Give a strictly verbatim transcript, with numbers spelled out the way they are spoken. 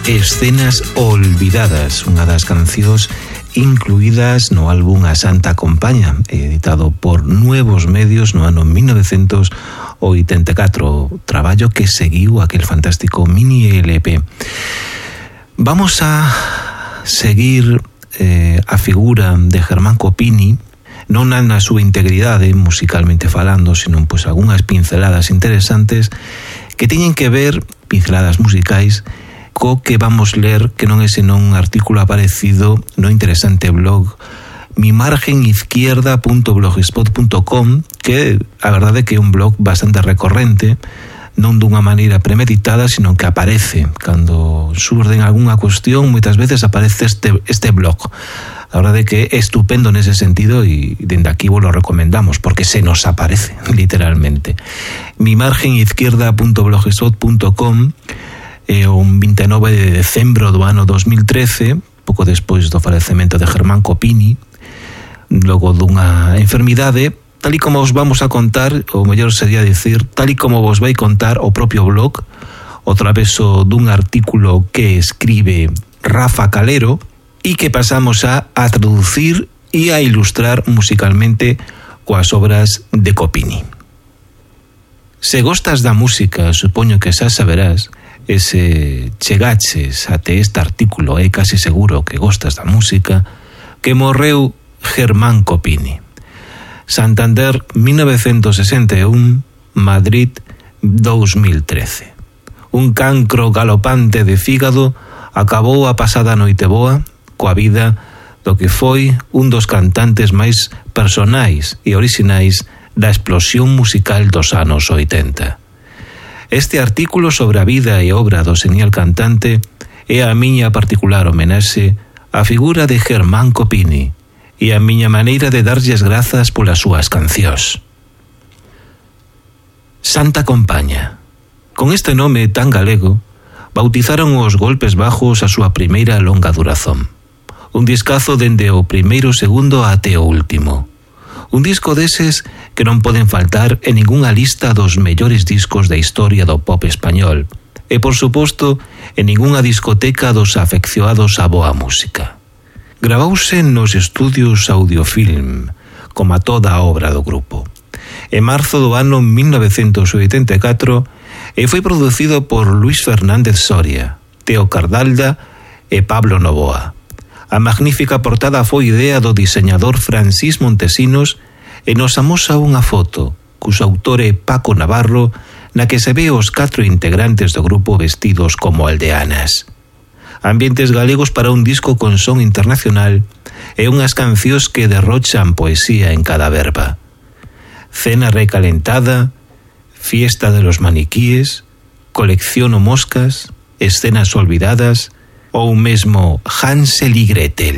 Escenas olvidadas, unha das cancións incluídas no álbum A Santa Compaña, editado por Nuevos Medios no ano mil novecentos oitenta e catro, traballo que seguiu aquel fantástico mini L P. Vamos a seguir eh, a figura de Germán Copini, non na súa integridade musicalmente falando, sino pois algunhas pinceladas interesantes que teñen que ver, pinceladas musicais, co que vamos ler, que non é senón un artículo aparecido no interesante blog mi margen izquierda punto blogspot punto com, que a verdade é que é un blog bastante recorrente, non dunha maneira premeditada, sino que aparece cando surden algunha cuestión, moitas veces aparece este, este blog. A verdade é que é estupendo nese sentido e dende aquí vos lo recomendamos porque se nos aparece, literalmente. mi margen izquierda punto blogspot punto com, e un vinte e nove de decembro do ano dos mil trece, pouco despois do falecemento de Germán Copini, logo dunha enfermidade, tal e como os vamos a contar, ou mellor sería dicir, tal e como vos vai contar o propio blog, o traveso dun artículo que escribe Rafa Calero e que pasamos a, a traducir e a ilustrar musicalmente coas obras de Copini. Se gostas da música, supoño que xa saberás, e se chegaches até este artículo é casi seguro que gostas da música, que morreu Germán Copini. Santander, mil novecentos sesenta e un, Madrid, dos mil trece. Un cancro galopante de fígado acabou a pasada noite boa coa vida do que foi un dos cantantes máis personais e orixinais da explosión musical dos anos oitenta. Este artículo sobre a vida e obra do genial cantante é a miña particular homenaxe á figura de Germán Copini e a miña maneira de darlles grazas polas súas cancións. Santa Compaña. Con este nome tan galego, bautizaron os Golpes Bajos a súa primeira longa durazón. Un discazo dende o primeiro segundo até o último. Un disco deses que non poden faltar en ningunha lista dos mellores discos da historia do pop español e, por suposto, en ningunha discoteca dos afeccionados á boa música. Gravouse nos estudios Audiofilm, como a toda a obra do grupo. En marzo do ano mil novecentos oitenta e catro e foi producido por Luis Fernández Soria, Teo Cardalda e Pablo Novoa. A magnífica portada foi idea do diseñador Francis Montesinos e nos amosa unha foto, cuxo autor é Paco Navarro, na que se ve os catro integrantes do grupo vestidos como aldeanas. Ambientes galegos para un disco con son internacional e unhas cancións que derrochan poesía en cada verba. Cena recalentada, fiesta de los maniquíes, colecciono moscas, escenas olvidadas ou mesmo Hansel y Gretel.